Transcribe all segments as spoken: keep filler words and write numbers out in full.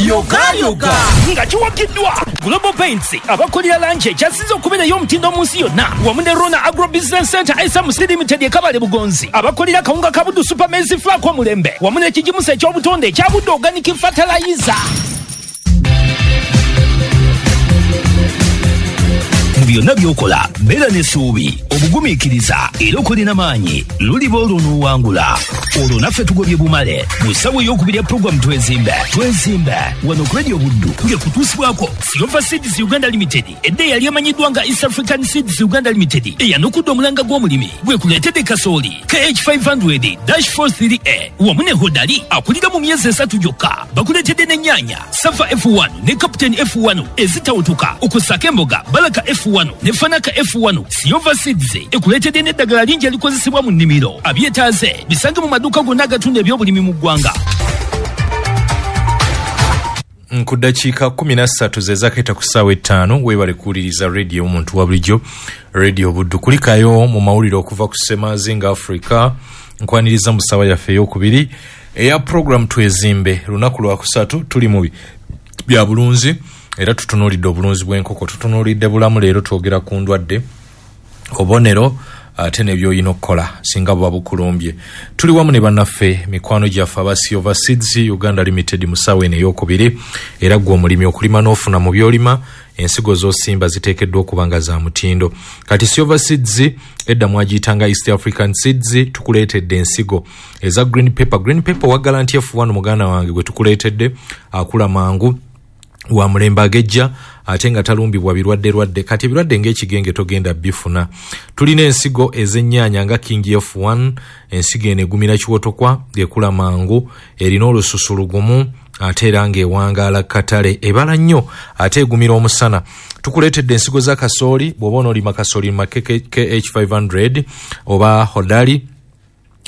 Yogayoga. Nga kiwagiddwa Global Paints, abakolera langi ekyasinze okubeera ey'omutindo mu nsi yonna, wamu ne Rona Agro Business Center S M C Limited ekabale Bugonzi, abakolera kawunga ka Buddu Super Maize Flour omulembe, wamu n'ekigimusa eky'obutonde ekya Buddu Organic Fertilizer. Mu byonna by'okola, beera n'essuubi, obugumiikiriza era okolera maanyi, luliba olwo n'owangula. Olwo naffe tugobye bumale mu ssaawa ey'okubiri ya puroguramu Twezimbe. Twezimbe wano ku Radio Buddu ng'ekutuusibwako Silver Seeds Uganda Limited, edda eyali emanyiddwa nga East African Seeds Uganda Limited, eyanukudde omulanga gw'omulimi gwekuleetedde kasooli K H five zero dash four three A wamu ne Hodari akulira mu myezi esatu gyokka. Bakuleetedde n'ennyaanya Safa F one ne Captain F one ezitawutuka, okussaako emboga Balaka F one ne Fanaka F one. Silver Seeds ekuleetedde n'eddagala lingi erikozesebwa mu nnimiro. Abyetaaze bisange mu maduuka gonna agatunda ebyobulimi mu ggwanga. Ku ddakiika kumi na ssatu ze zakeeta ku ssaawa ettaano. Weebale kuwuliriza Radio omuntu wa bulijjo, Radio Buddu. Kulikayo mu mawulire okuva ku Semazinga Africa. Nkwaniriza mu ssaawa yaffe eyokubiri eya program Twezimbe. Lunaku lwakusatu, tuli mu bya bulunzi era tutunuulidde obulunzi bw'enkoko, tutunuulidde bulamu. Leero twogera ku ndwadde, obubonero ate nebyoyina okukola singa buba bukulumbye. Tuli wamu ne bannaffe, mikwano gyaffe aba Silver Seeds Uganda Limited mu ssaawa eno eyokubiri. Era gwe omulimi, okulima n'ofuna mu byolima, ensigo z'osimba ziteekeddwa okuba nga za mutindo. Kati Silver Seeds, edda mwagiyitanga East African Seeds, tukuleetedde ensigo eza green pepper. Green pepper waggala nti F one, muganda wange, gwe tukuleetedde akula mangu, wa mulembe, agejja ate nga talumbibwa birwadde lwadde. Kati ebirwadde ng'ekigenge togenda bifuna. Tulina ensigo ez'ennyaanya nga King F one. Ensigo eno egumira kiwotokwa, ekula mangu, erina olususu lugumu ate era ng'ewangaala katale, ebala nnyo ate egumira omusana. Tukuleetedde ensigo za kasooli. Bw'oba onoolima kasooli ma K H five hundred oba Hodari.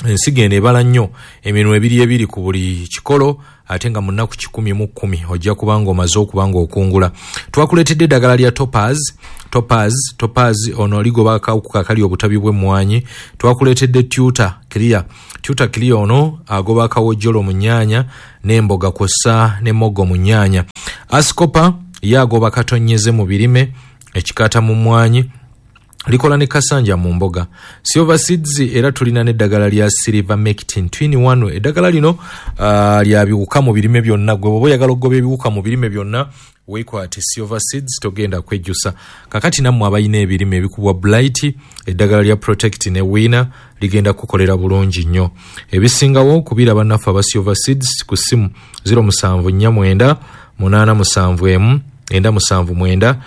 Ensigo eno ebala nnyo, eminwe ebiri ebiri ku buli kikolo, ate nga mu nnaku kikumi mu kkumi ojja kuba nga omaze okuba nga okungula. Twakuleetedde eddagala lya Topaz. Topaz, Topaz ono ligoba akawuka akali obutabi bw'emmwanyi. Twakuleetedde Tuta Clear. Tuta Clear ono agoba akawojjolo mu nnyaanya n'emboga kw'ossa n'emmogo mu nnyaanya. Ascopa ye agoba katonyeze mu birime, ekikata mu mmwanyi, likola ne kasanja mu mboga. Silver Seeds era tulina n'eddagala lya Silver Mectin Twin one. Eddagala lino uh, lya biwuka mu birime byonna. Gwe bw'oba oyagala okugoba ebiwuka mu birime byonna, weekwate Silver Seeds, togenda kwejjusa. Kakati nammwe abalina ebirime ebikubwa blight, eddagala lya Protect ne Winner ligenda kukolera bulungi nnyo. Ebisingawo kubira bannaffe aba Silver Seeds ku ssimu zero musanvu nnya mwenda munaana musanvu emu enda musanvu mwenda.